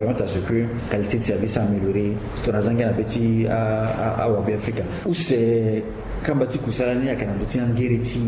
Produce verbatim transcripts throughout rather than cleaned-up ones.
permettre à ce que qualité de service amélioré. Tongana za ngia na be ti awabe afrika. Use kamba ti kusala ni ayeke na ndö ti angere ti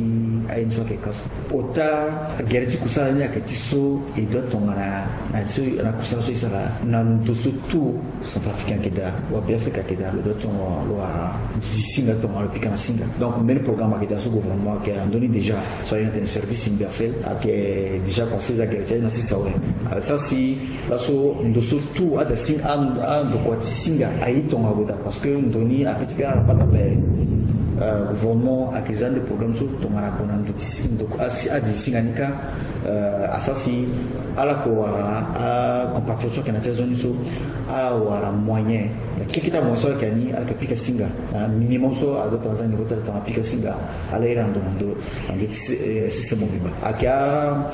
aye ni so ayeke ka so. Ota gere ti kusala ni ayeke ti so e doit tongana na kusala so e sara na ndo so tout centrafricain ayeke daa, wabe afrika ayeke daa, lo doit tongana lo wara di singa tongana lo pika na singa. Donc mbeni programme ayeke daa so gouvernement ayeke na ndö ni déjà, so aye na tene service universel ayeke déjà passé. Za gere ti aye na sisa awe. Asara si laso ndo so tout ada singa, andokua ti singa aye tongana lo daa, parce que ndo ni ape ti kara pata ape. Gouvernement ayeke za nde programme so tongana gue na ndo ti singa, adi singa ni kâ. Asara si ala yeke wara acompatriote so ayeke na ti azo ni so ala wara moyen na keke ti amoyen so ala yeke na ni, ala yeke pika singa. Minimum so adoit tongana za niveau ti ala tongana pika singa. Ala iri na ndo na ndo na ndö ti sese mobimba. Ayeke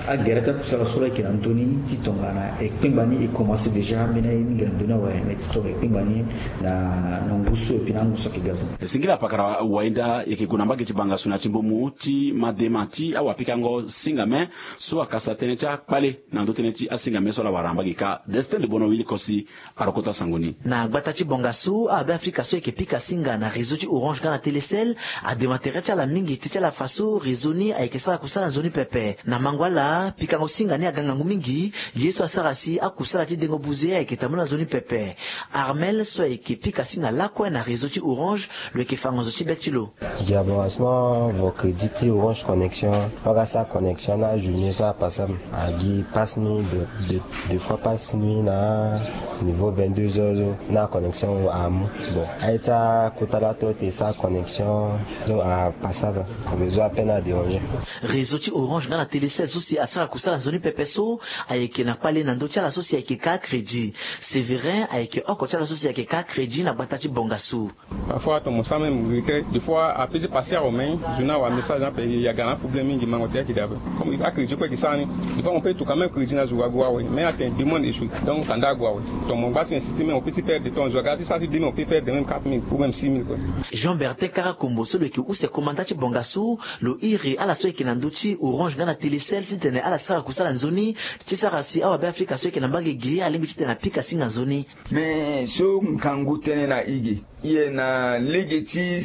agere ti akusala so la yeke na ndö ni ti tongana ekpengba ni e commencé déjà mbeni aye mingi na ndö ni awe, mais ti tongana ekpengba ni na ngu so epui na angu so ayeke ga so. Singila pakara wainda yeke gue na mbage ti bangasu na ti mbomu ti madema ti awapikango singame so akasa tënë ti akpale na ndö tënë ti asingame so ala wara na mbage ka. Destin de bono wili kosi arokota sango ni. Na gbata ti bongasu awabe afrika so eke pika singa na réseau ti orange nga na télécel adema tere ti ala mingi ti ti ala fa so réseau ni ayeke sara kusala nzoni pepe. Na mango ala pikango singa ni aga ngangu mingi. Ye so asara si akusala ti dengo buze ayeke tambula nzoni pepe. Armel so ayeke pika singa lakue na réseau ti orange lo yeke fango zo ti be ti lo. Gi abonnement vo crédit ti orange connexion. Waka sa connexion na journée so apasam agi passe nuit de, de, de fois passe nuit na niveau vingt-deux heures na connexion amu. Bon, aye ti akota la to te sa connexion so apasaba. Réseau ape na déranger. Réseau ti orange nga na télécel so si asara kusala nzoni pepe so ayeke na kpale na ndö ti ala so si ayeke ka crédit. Sévérin ayeke oko ti ala so si ayeke ka crédit na gbata ti bongasu. Parfois ton mo sa même regret des fois ape ti passer au main journal wa message ape ya ga na problème mingi mango te ayeke daa ape. Comme a crédit kue ki sara ni des fois mo peut tout quand même crédit na zo wa go awe mais ate demande échoué. Donc kanda ago awe. Ton mo ngba ti insisté même on peut ti perdre ton zo wa ga ti sara ti deux mille on peut perdre même quatre mille ou même six mille quoi. Jean Bertin Karakombo so lo yeke use komanda ti bongasu lo iri ala so yeke na ndö ti orange nga na télécel titene ala sara kusala nzoni ti sara si awabe afrika so yeke na mbage gi alingbi titene apika singa nzoni. Mais so ngangu tënë na i ge, i ye na lege ti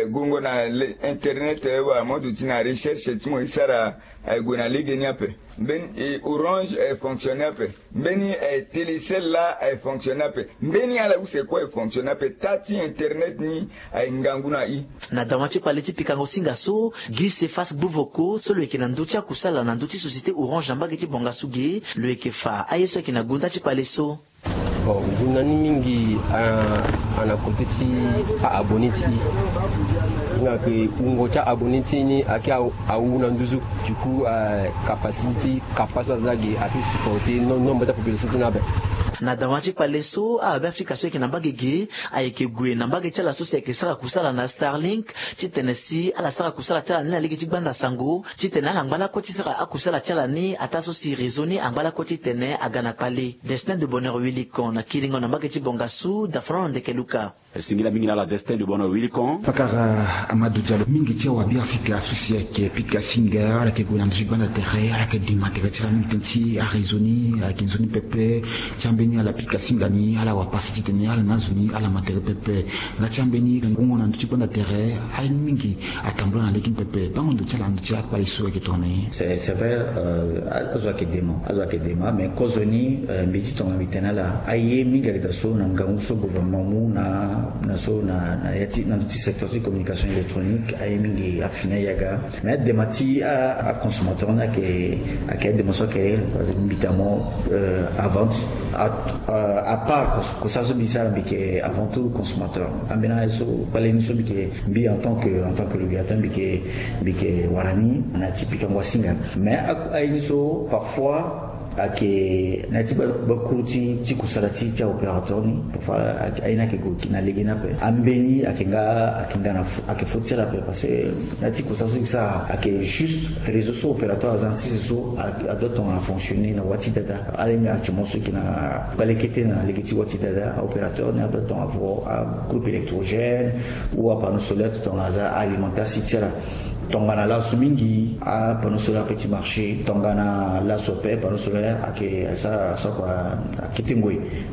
gongo na internet wala mo duti na recherche ti mo e sara aye gue na lege ni ape. Mbeni orange aye fonctionne ape. Mbeni télécel la aye fonctionne ape. Mbeni ala use kue aye fonctionne ape. Ta ti internet ni aye ngangu na i. Na dawa ti kpale ti pikango singa so gi sefas gbuvoko so lo yeke na ndö ti akusala na ndö ti société orange na mbage ti bongasu ge lo yeke fa aye so ayeke na gonda ti kpale so. Bon, ngu na ni mingi ana kote ti a-abonné ti i. Nga ke wungo ti a-abonné ti i ni ake awu na nduzu. Du coup capacité ti kapa so aza ge ape supporter nombre ti apopulation ti ni abe. Na dawa ti kpale so awabe afrika so ayeke na mbage ge ayeke gue na mbage ti ala so si ayeke sara kusala na Starlink titene si ala sara kusala ti ala ni na lege ti gbanda sango titene ala ngba lakue ti sara akusala ti ala ni ataa so si réseau ni angba lakue titene aga na kpale. Destin de bonheur wilikon na kiringo na mbage ti bongasu dafrano ndeke luka. Singila mingi na ala Destin de bonheur wilikon. Pakara Amadou Diallo, mingi ti awabe afrika so si ayeke pika singa ala yeke gue na ndö ti gbanda tere ala yeke dima tere ti ala mingi tënë ti aréseau ni ayeke nzoni pepe. Ti ambeni ala pika singa ni ala wa pasi titene ala na zo ni ala ma tere pepe. Nga ti ambeni ngongo na ndö ti gbanda tere aye mingi atambula na lege ni pepe. Bango ndo ti ala na ndö ti akpale so ayeke tongana nyen? C'est vrai. Azo ayeke dema, azo ayeke dema mais kozoni mbi ti tongana mbi tene ala aye mingi ayeke daa so na ngangu so gouvernement amu na na so na na ya ti na ndö ti secteur ti communication électronique aye mingi afini aye aga. Mais adema ti aconsommateur ni ayeke ayeke adema so ayeke mbi tamo avant à part kosala so mbi sara mbi yeke avant tout consommateur. Ambeni aye so kpale ni so mbi yeke mbi en tant que en tant que régulateur mbi yeke mbi yeke wara ni na ya ti pikango asinga. Mais aye ni so parfois ayeke na ya ti bakuru ti kusala ti ti aopérateur ni. Parfois aye ni ayeke gue na lege ni ape. Ambeni ayeke nga ayeke nga na ayeke faute ti ala ape parce que na ya ti kusala so e sara ayeke juste réseau so opérateur aza na sese so adoit tongana fonctionner na wâ ti dada. Ala hinga actuellement so e yeke na kpale kete na lege ti wâ ti dada aopérateur ni adoit tongana vo agroupe électrogène ou apanneau solaire ti tongana aza alimentation ti ala. Tongana laso mingi apanneau solaire ape ti marché, tongana laso ape apanneau solaire ayeke asara soko akete ngoi.